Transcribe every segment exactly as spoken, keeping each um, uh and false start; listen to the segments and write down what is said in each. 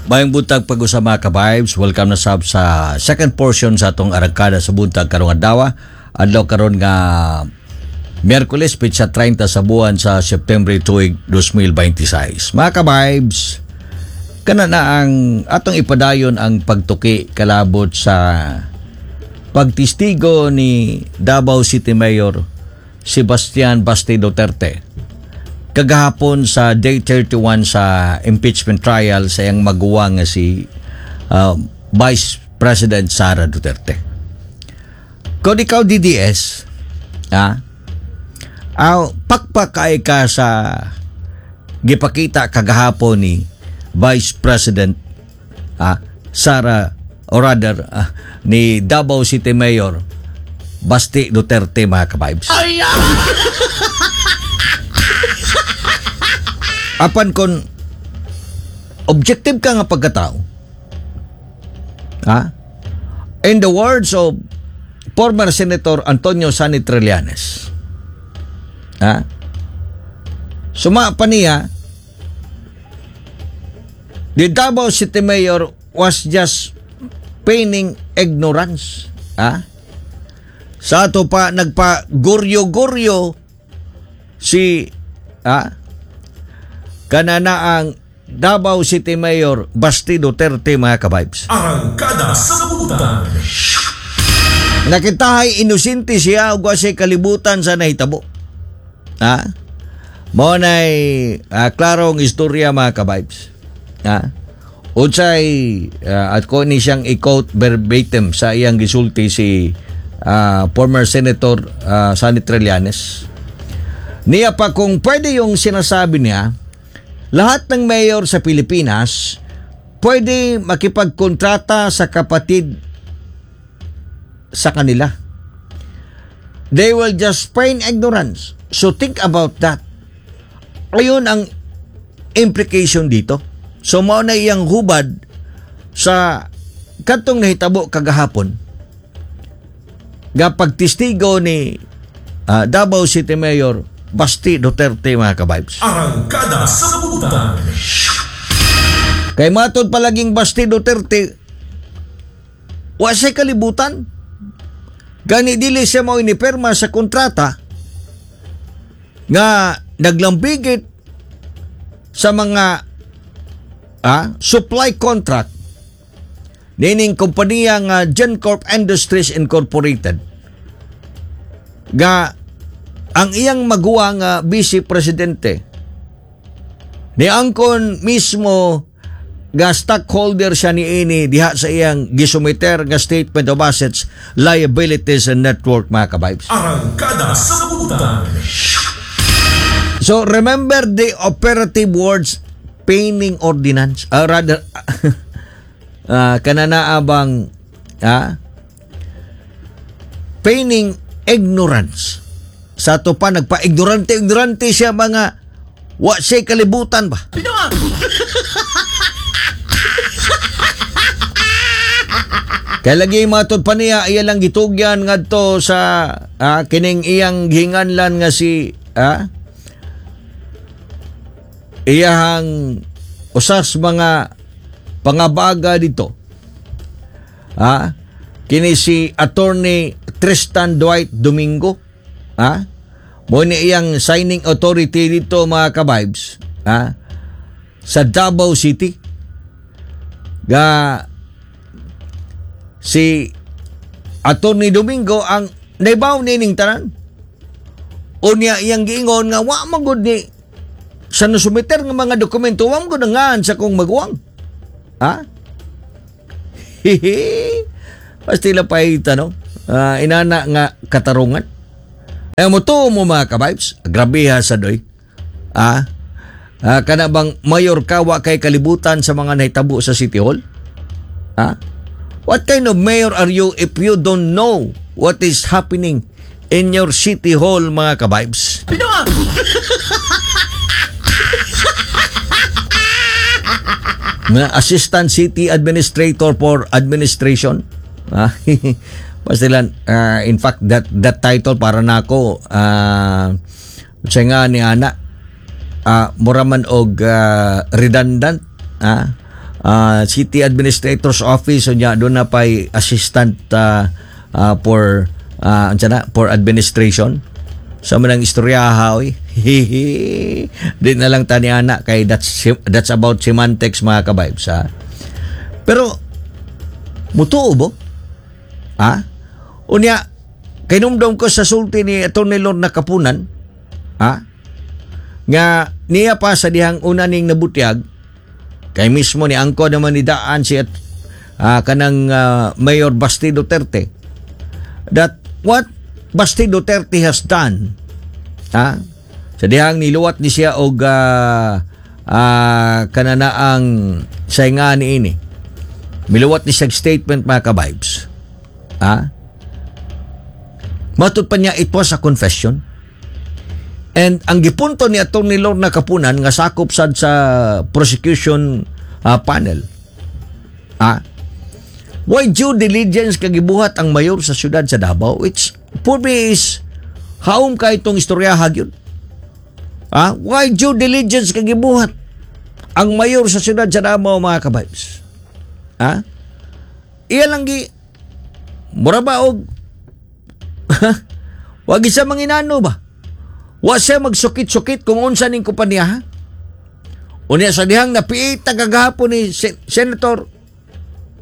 Maayong buntag pag-usa, mga ka-vibes. Welcome na sab sa second portion sa atong Arangkada sa Buntag karong adlaw. Adlaw karon nga Miyerkules, petsa trenta sa buwan sa September, tuig dalawang libo dalawampu't sais. Mga ka-vibes, kana na ang atong ipadayon ang pagtuki kalabot sa pagtistigo ni Davao City Mayor Sebastian Basti Duterte kagahapon sa day thirty-one sa impeachment trial sa iyang maguwang nga si uh, Vice President Sara Duterte. Kung ikaw D D S, ah, aw, pakpak kay ka sa gipakita kagahapon ni Vice President ah, Sara or rather ah, ni Davao City Mayor Basti Duterte, mga ka-vibes. Apan kon objective ka nga pagkatao, ha? In the words of former Senator Antonio Sonny Trillanes, ha? Suma pa niya, the Davao City Mayor was just feigning ignorance. Ha? Sa ato pa nagpa guryo-guryo si ah, kanana ang Davao City Mayor Basti Duterte, mga ka-vibes. Arangkada sa Buntag. Nakitahay inosente siya ug wa siya kalibutan sa nahitabo. Ha? Mao nay ah, klarong istorya, mga ka-vibes. Ha? Unsay ah, at ko ni siyang i-quote verbatim sa iyang gisulti si ah, former Senator uh, Sonny Trillanes. Niya pa kung pwede yung sinasabi niya, lahat ng mayor sa Pilipinas pwede makipagkontrata sa kapatid sa kanila. They will just feign ignorance. So think about that. Ayun ang implication dito. So mao na iyang hubad sa katong nahitabo kagahapon nga pagtestigo ni ah, Davao City Mayor Basti Duterte, mga ka-vibes. Arangkada sa Buntag. Kay matod palaging Basti Duterte, wa siya kalibutan. Gani dili siya mao inipirma sa kontrata nga naglambigit sa mga ah, supply contract nining kompanya nga Gencorp Industries Incorporated nga ang iyang maguwang nga vice presidente ni angkon mismo nga stockholder siya niini diha sa iyang gisumiter nga statement of assets, liabilities and net worth, mga ka-vibes. Arangkada sa Buntag. So remember the operative words, feigning ordinance, uh, rather uh, kanana abang ah feigning ignorance. Sa ato pa nagpa-ignorante ignorante siya mga wa siya kalibutan ba. Kay lagi matod pa niya iya lang gitugyan ngadto sa ah, kining iyang gihinganlan nga si ah, iyahang usas mga pangabaga dito. Ah, kini si Attorney Tristan Dwight Domingo. Ah, mo ni iyang signing authority dito, mga ka-vibes. Ah, sa Davao City. Ga si Attorney Domingo ang naibaw nining tanan. Unya iyang giingon nga wa man gud ni sa nasumiter nga mga dokumento, wa man gud ngan sa kong maguwang. Ha? Hihi. Pastila pa no? Ah, inana nga katarungan. Eh mo to mo, mga ka-vibes, grabe ha sa doy. Ah, ah kana bang mayor ka, wa kay kalibutan sa mga nahitabo sa City Hall? Ha? What kind of mayor are you if you don't know what is happening in your City Hall, mga ka-vibes? Nga Assistant City Administrator for Administration. Ah, Pastilan, ah, in fact, that that title para nako, ah, siya nga ni ana, ah, mura man og ah, redundant, ah, uh, City Administrator's Office, unya doon na pa'y assistant uh, uh, for uh, unsa na, for administration. Sa manang istoryaha, oy. Di na lang tani ana kay that's that's about semantics, mga ka-vibes, ha. Pero mutuo bo? Ha? Unya kahinumdom ko sa sulti ni Attorney Lorna Kapunan, ha? Nga niya pa sa dihang una ning nabutyag kay mismo ni angko naman ni daan si at ah, kanang ah, Mayor Basti Duterte, that what Basti Duterte has done, ha, sa dihang niluwat ni siya og uh, uh, kananaang saynga ni ini, miluwat ni siya statement, mga ka-vibes, ha. Matud pa niya, it was a confession. And ang gipunto ni Attorney Lorna Kapunan nga sakop sad sa prosecution ah, panel, ah, why due diligence kagibuhat ang mayor sa siyudad sa Davao, which for me is haom ka itong istorya gyud. Ah, why due diligence kagibuhat ang mayor sa siyudad sa Davao, mga ka-vibes? Ah? Iya lang gi mura ba og wag isa manginano ba? Wa siya magsukit-sukit kung unsa ning kompanya, ha? Unya sa dihang napiita kagahapon ni Sen- Senator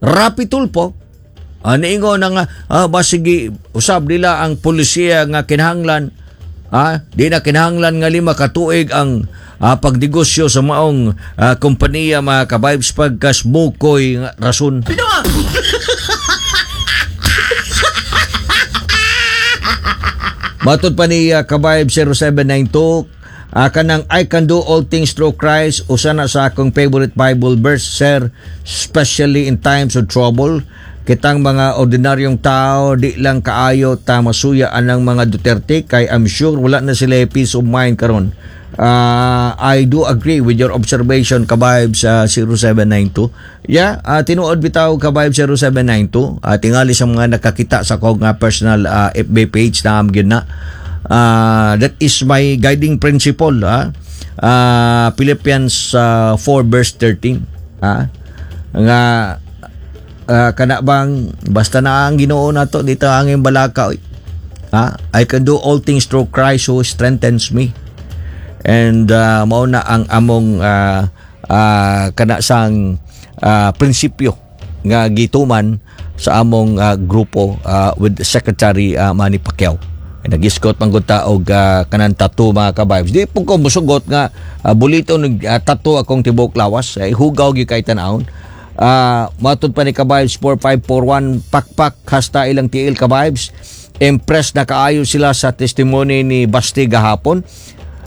Rapi Tulfo, ah, niingon na nga ah, basigi usab nila ang polisiya nga kinahanglan, ah, di na kinahanglan nga lima ka tuig ang ah, pagnegosyo sa maong ah, kompanya, mga ka-vibes, pagkasmukoy nga rason. Matod pa ni uh, Kabayb zero seven nine two, uh, kanang "I can do all things through Christ" usa na sa akong favorite Bible verse, sir, especially in times of trouble. Kitang mga ordinaryong tao, di lang kaayo ta masuya anang mga Duterte kay I'm sure wala na sila peace of mind karon. Uh, I do agree with your observation, Kabayb sa zero seven nine two. Yeah, uh, tinuod bitaw, Kabayb zero seven nine two. Uh, tingali sa mga nakakita sa akong nga personal uh, F B page na am gyud na. Uh, that is my guiding principle. Ah. Uh, Philippians uh, four verse thirteen. Ah. Nga uh, kana bang basta na ang Ginoo nato dito ang iyong balaka, oy. Ah, I can do all things through Christ who strengthens me. And uh, mao na ang among uh, uh, kana sang uh, prinsipyo nga gituman sa among uh, grupo uh, with Secretary uh, Manny Pacquiao. Ay, nagiskot man gud ta og uh, kanang tattoo, mga ka-vibes. Di po ko musugot nga uh, bulito nag uh, tattoo akong tibuok lawas. Ay, hugaw gyud kay tan-awon. Uh, matod pa ni Ka-vibes four five four one, pakpak hasta ilang tiil, ka-vibes. Impressed na kaayo sila sa testimony ni Basti gahapon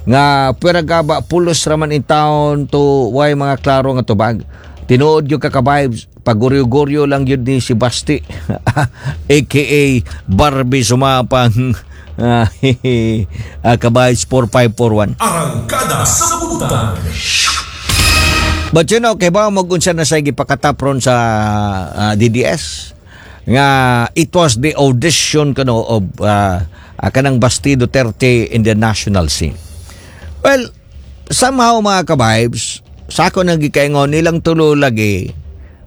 nga pwera gaba pulos raman in town to way mga klaro nga tubag. Tinuod yung ka-vibes, paguryo-guryo lang yun ni si Basti A K A Barbie Sumapang, uh, uh, Ka-vibes four five four one. Arangkada sa Butang. But you know, kay ba mag-unsa na sa gipakatapron sa ah, D D S nga it was the audition kano of uh, uh, kanang Basti Duterte in the national scene. Well, somehow, mga ka-vibes, sa ako nang gikaingon nilang tulo lagi,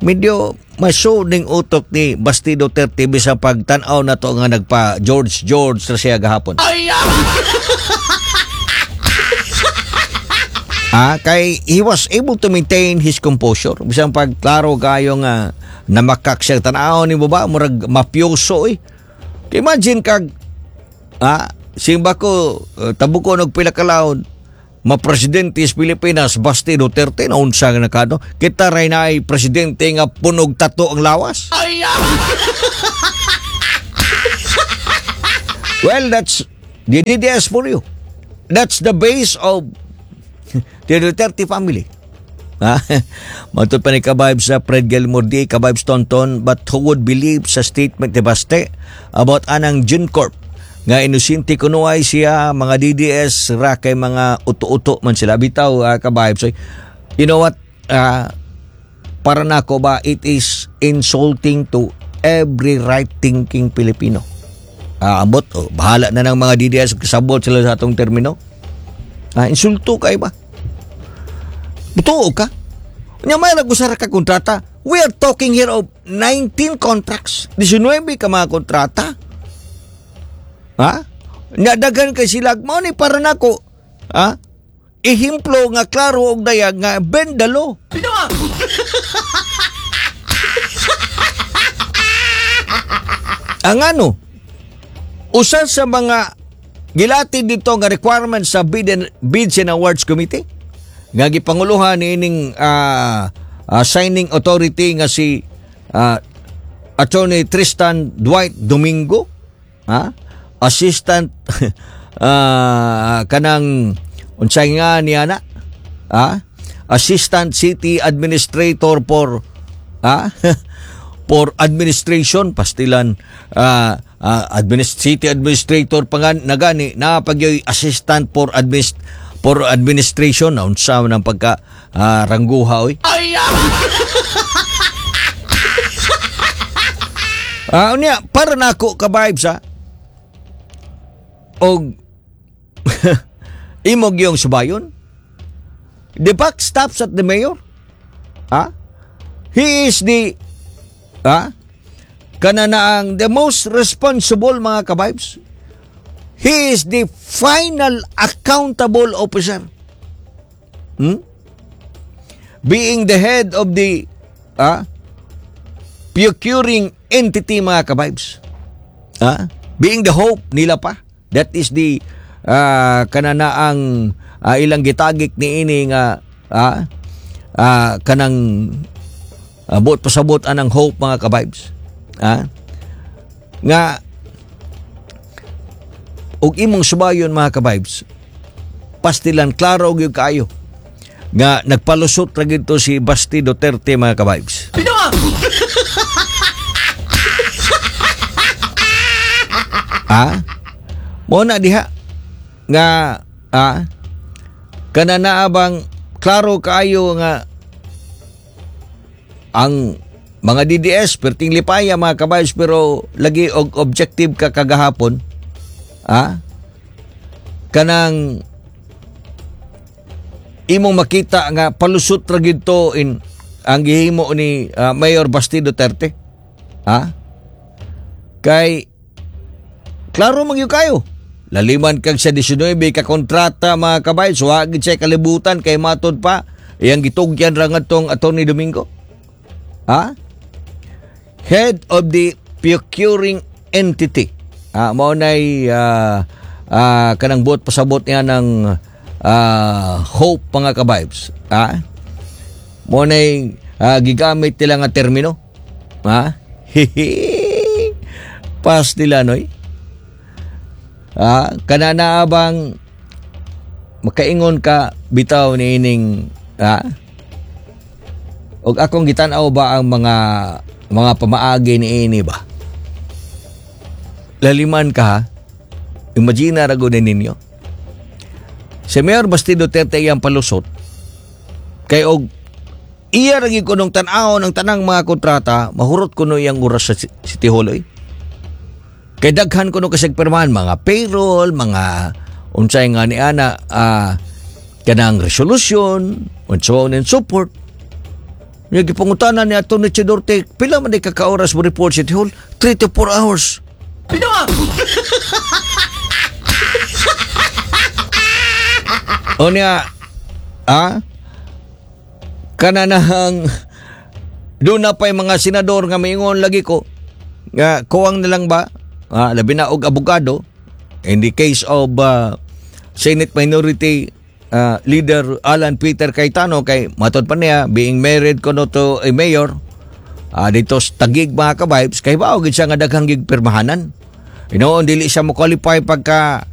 medyo maso ning utok ni Basti Duterte bisa pagtan-aw na to nga nagpa George George ra siya gahapon. Ah, kay he was able to maintain his composure. Bisan pag klaro kayo nga namakak siya, tan-aw ni ba murag mafioso eh. Kay imagine kag ah simba ko uh, tabuko og pila ka laon ma-presidente sa Pilipinas Basti Duterte na unsa nga nakano kita ray na ay presidente nga punog tato ang lawas. Well, that's the D D S for you. That's the base of the Duterte family. Ha? Matod pa ni Ka-vibes sa Fred Gilmore D, Ka-vibes Tonton, but who would believe sa statement ni Baste about anang Juncorp nga inosente kunuhay siya, mga D D S ra kay mga uto-uto man sila bitaw, uh, ka-vibes. So, you know what, uh, para nako ba, it is insulting to every right thinking Filipino. Ah, ambot, oh, bahala na ng mga D D S kasabot sila sa atong termino. Ah, insulto kay ba? Butuo ka. Nya may usa ra ka kontrata. We are talking here of nineteen contracts. nineteen ka mga kontrata. Ha? Nya daghan kay sila mao ni para nako. Ha? Ehemplo nga klaro og dayag nga bend the law. Ang ano, usa sa mga gilati dito nga requirement sa Bid and, Bids and Awards Committee nga gipanguluhan niining uh, uh, signing authority nga si uh, Attorney Tristan Dwight Domingo, ha? Assistant uh, kanang unsay nga niya na, ha? Assistant City Administrator for ha? For administration, pastilan uh, uh, administ- City Administrator pa nga nagani na pagyoy assistant for administ for administration na unsa man ang pagka uh, rangguha oy. Ay ah, unya para nako ka vibes ha. Og imog yung subayon. The buck stops at the mayor. Ha? He is the ha? Kana na ang the most responsible mga ka-vibes. He is the final accountable officer. Hmm? Being the head of the ah, procuring entity mga ka-vibes. Ah? Being the hope nila pa. That is the uh, kana na ang uh, ilang gitagik ni ini nga ah, uh, kanang uh, buot pasabot anang hope mga ka-vibes. Ah? Nga og imong subayon mga ka-vibes, pastilan klaro gyud kaayo nga nagpalusot ra gid to si Basti Duterte mga ka-vibes. Ah? Mo na diha nga ah, kana naa bang klaro kaayo nga ang mga D D S perting lipaya mga ka-vibes, pero lagi og objective ka kagahapon. Ah? Kanang imong makita nga palusot ra gid to in ang gihimo ni uh, Mayor Basti Duterte. Ha? Kay klaro man gyud kayo. Laliman kag sa nineteen ka kontrata mga kabay, so wa gid siya kalibutan kay matod pa iyang gitugyan ra ngadtong Attorney Domingo. Ha? Head of the procuring entity. Ah, mao nay uh, uh, kanang buot pasabot niya ng uh, hope mga ka-vibes. Ah? Mao nay uh, gigamit nila nga termino. Ha? Pas nila noy. Ah, kana na bang makaingon ka bitaw ni ining ah? Og akong gitan-aw ba ang mga mga pamaagi ni ini ba? Laliman ka ha? Imagine ra gud ninyo. Si Mayor Basti Duterte iyang palusot kay og iya ra gyud kunong tan-awon ang tanang mga kontrata, mahurot kuno iyang oras sa City Hall oy. Kay daghan kuno kasig pirmahan mga payroll, mga unsay nga ni ana uh, kanang resolution, and so on and so forth. Nya gipangutana ni Atty. Duterte, pila man di ka ka oras mo report City Hall? three to four hours. O niya, ah, kananahang doon na pa'y mga senador nga maingon lagi ko, nga kuwang na lang ba, ah, labi na og abogado, in the case of uh, Senate Minority uh, Leader Alan Peter Cayetano, kay matod pa niya, being married kono to a mayor, uh, dito sa Taguig mga ka-vibes, kay bao gid siya nga daghang gigpirmahanan. Inoon, dili siya mo qualify pagka